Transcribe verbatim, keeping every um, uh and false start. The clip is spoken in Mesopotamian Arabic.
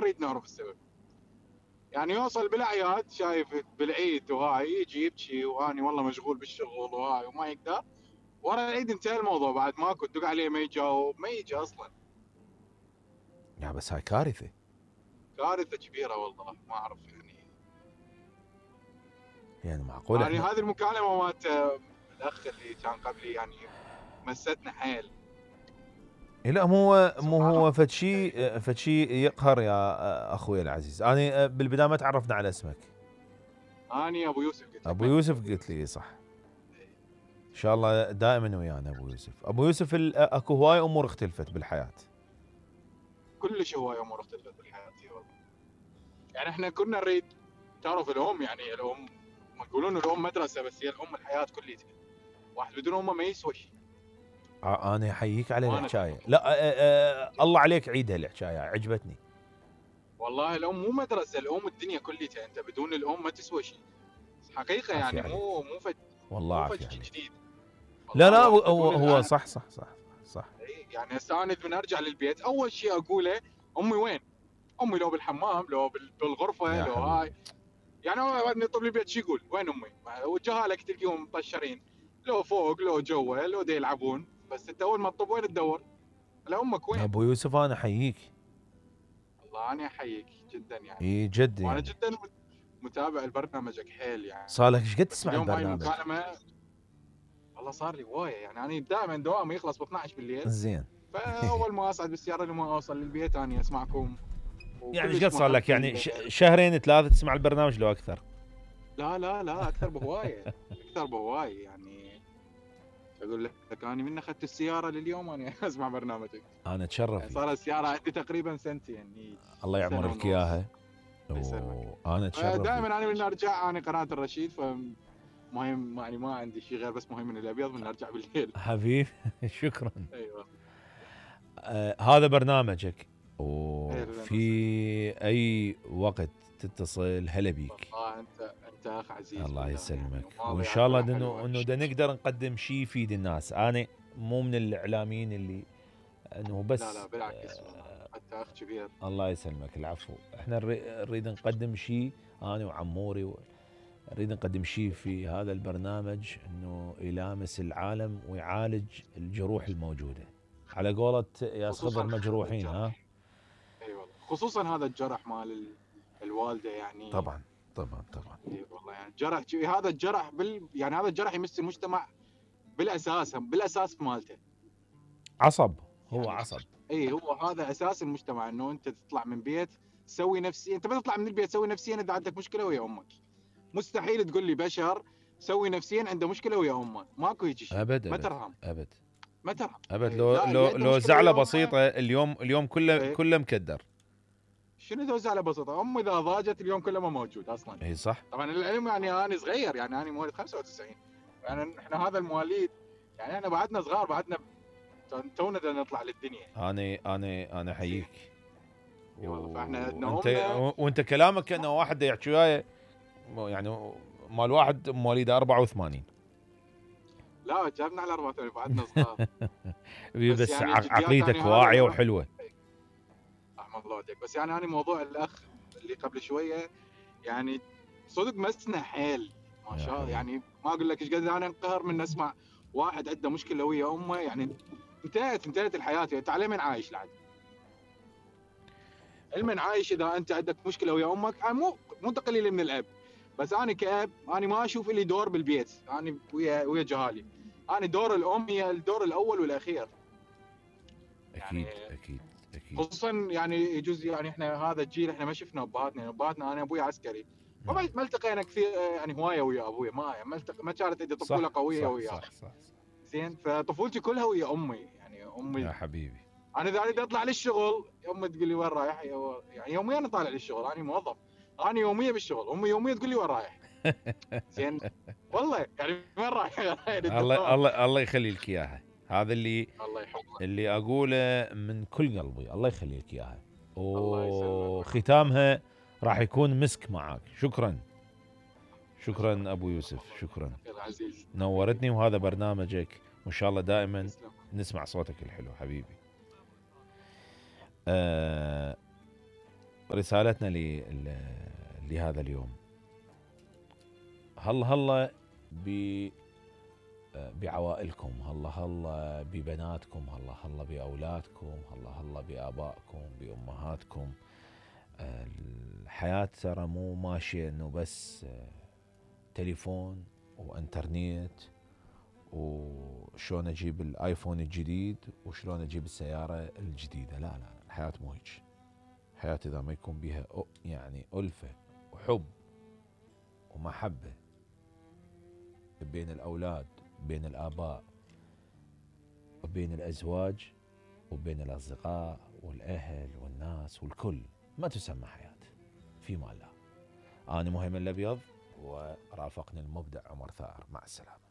نريد نعرف السبب. يعني يوصل بالاعياد شايف بالعيد وهاي يجي يبكي واني والله مشغول بالشغل وهاي وما يقدر، ورا العيد انتهى الموضوع بعد ماكو تدق عليه ما يجاوب ما يجي اصلا. يا بس هاي كارثه، كارثه كبيره والله ما اعرف يعني. يعني معقول يعني احنا هذه المكالمه مالت الاخ اللي كان قبلي يعني مستنا حيل. لا مو هو مو سبحان هو الله. فد شيء فد شيء يقهر يا اخوي العزيز. انا بالبدايه ما تعرفنا على اسمك. اني ابو يوسف قلت لك. ابو يوسف قلت لي صح. ان شاء الله دائما ويانا ابو يوسف. ابو يوسف اكو هواي امور اختلفت بالحياه. كلش هواي امور اختلفت بالحياه والله. يعني احنا كنا نريد تعرف الام، يعني الام ما يقولون الام مدرسه، بس هي الام الحياه كليتها. واحد بدون امه ما يسوى شيء. انا احييك على ما الحكايه. ندري. لا أه أه الله عليك عيدها الحكايه عجبتني. والله الام مو مدرسه، الام الدنيا كليتها، انت بدون الام ما تسوى شيء حقيقه. عافية يعني عليك. مو مو فج والله مو فج عافية عليك. جديد. لا والله لا الواحد هو بدون هو الآن. صح صح صح صح. يعني هسه انا من ارجع للبيت اول شيء اقوله امي وين؟ امي لو بالحمام لو بالغرفه يا لو حبيبي. هاي. يعني بعد يطلب لي البيت شو يقول؟ وين امي؟ والجهالك تلقيهم مطشرين، لو فوق لو جوا لو دا يلعبون، بس انت اول ما تطب وين تدور؟ على امك وين؟ ابو يوسف انا احييك. الله انا احييك جدا يعني. اي جد وانا يعني. جدا متابع لبرنامجك حيل يعني. صار لك ايش قد بس تسمع اليوم هاي البرنامج؟ المكالمه والله صار لي هوايه. يعني انا دائما دوامي يخلص ب اثنعش بالليل، زين. فاول ما اصعد بالسياره لما اوصل للبيت اني اسمعكم. يعني ايش قد وكلش صار لك؟ محب يعني ال... شهرين ثلاثه تسمع البرنامج لو اكثر؟ لا لا لا اكثر بهوايه. اكثر بهوايه يعني. اقول لك اني من اخذت السياره لليوم انا اسمع برنامجك. انا يعني اتشرف صار فيك. السياره عندي تقريبا سنتين يعني. الله يعمر سنه لك ونص. اياها. الله يسلمك. وانا اتشرف فيك. دائما انا من ارجع انا قناه الرشيد، فمهم يعني ما عندي شيء غير بس مهم من الابيض من ارجع بالليل. حبيب شكرا. ايوه. آه هذا برنامجك، وفي اي وقت تتصل هلا بيك. والله انت انت اخ عزيز. الله يسلمك. يعني وان شاء الله انه انه نقدر نقدم شيء يفيد الناس. انا مو من الاعلاميين اللي انه بس. لا لا بالعكس والله انت اخ كبير. الله يسلمك. العفو. احنا نريد نقدم شيء انا وعموري، نريد نقدم شيء في هذا البرنامج انه يلامس العالم ويعالج الجروح الموجوده. على قولة ياس خضر مجروحين. ها اي والله خصوصا هذا الجرح مال الوالده يعني. طبعا طبعا طبعا. اي والله يعني جرح هذا الجرح بال يعني هذا الجرح يمس المجتمع بالاساس بالاساس مالته. عصب. هو يعني عصب. اي هو هذا اساس المجتمع، انه انت تطلع من بيت تسوي نفسي. انت ما تطلع من البيت تسوي نفسيا اذا عندك مشكله ويا امك. مستحيل تقول لي بشر سوي نفسيا عنده مشكله ويا امه. ماكو هيجي شيء. ابد ما ابد ترهم. ابد ما ترهم. ابد. إيه. لو لا لو عنده لو مشكلة زعله ويا أمه. بسيطه اليوم اليوم كله إيه. كله مكدر. شنو ذو زعله بسيطه؟ امي اذا ضاجت اليوم كله ما موجود اصلا. اي صح. طبعا العلم يعني انا صغير، يعني انا مواليد خمسة وتسعين. يعني احنا هذا المواليد يعني احنا بعدنا صغار، بعدنا تونا بدنا نطلع للدنيا. انا انا انا احييك. اي والله فاحنا وانت امنا. وانت كلامك كانه واحد يحكي وياي يعني مال واحد مواليد أربعة وثمانين. لا جابنا على أربعة وثمانين بعدنا صغار. بس, بس يعني عقليتك يعني واعيه وحلوه. رحم الله عليك. بس يعني انا موضوع الاخ اللي قبل شويه يعني صدق مسنا حيل ما شاء الله. يعني ما اقول لك ايش قد انا انقهر من اسمع واحد عنده مشكله ويا امه. يعني انتهت انتهت الحياه. يعني انت على من عايش لعد؟ علما عايش اذا انت عندك مشكله ويا امك. يعني مو مو تقليل من الاب، بس انا كاب انا ما اشوف لي دور بالبيت. انا ويا ويا جهالي انا دور الام هي الدور الاول والاخير. اكيد يعني اكيد اكيد. خصوصا يعني يجوز يعني احنا هذا الجيل احنا ما شفنا ابهاتنا. ابهاتنا انا ابوي عسكري ما نعم. ما التقينا كثير يعني هوايه ويا ابوي. ما ما التق... ما كانت عندي طفوله قويه صح وياه. صح صح, صح. زين فطفولتي كلها ويا امي. يعني امي يا حبيبي انا اذا اريد اطلع للشغل امي تقول لي وين رايح؟ يعني يوميا انا طالع للشغل. انا موظف انا يوميا بالشغل. امي يوميا تقول لي وين رايح؟ زين والله يعني وين رايح؟ الله الله الله يخلي لك اياها. هذا اللي الله يحفظك. اللي اقوله من كل قلبي. الله يخلي لك اياها. الله يسلمك. وختامها راح يكون مسك معك. شكرا شكرا ابو يوسف. شكرا العزيز. نورتني. وهذا برنامجك وان شاء الله دائما نسمع صوتك الحلو حبيبي. آه رسالتنا لهذا اليوم، هلا هلا ب بعوائلكم، هلا هلا ببناتكم، هلا هلا بأولادكم، هلا هلا بآبائكم بأمهاتكم. الحياة ترى مو ماشية انه بس تليفون وانترنت وشلون اجيب الايفون الجديد وشلون اجيب السيارة الجديدة. لا لا، الحياة مو هيك. الحياة اذا ما يكون بها يعني ألفة وحب ومحبة بين الأولاد، بين الآباء، وبين الأزواج، وبين الأصدقاء والأهل والناس والكل، ما تسمى حياة. في مال الله. أنا مهيمن الأبيض ورافقني المبدع عمر ثائر. مع السلامة.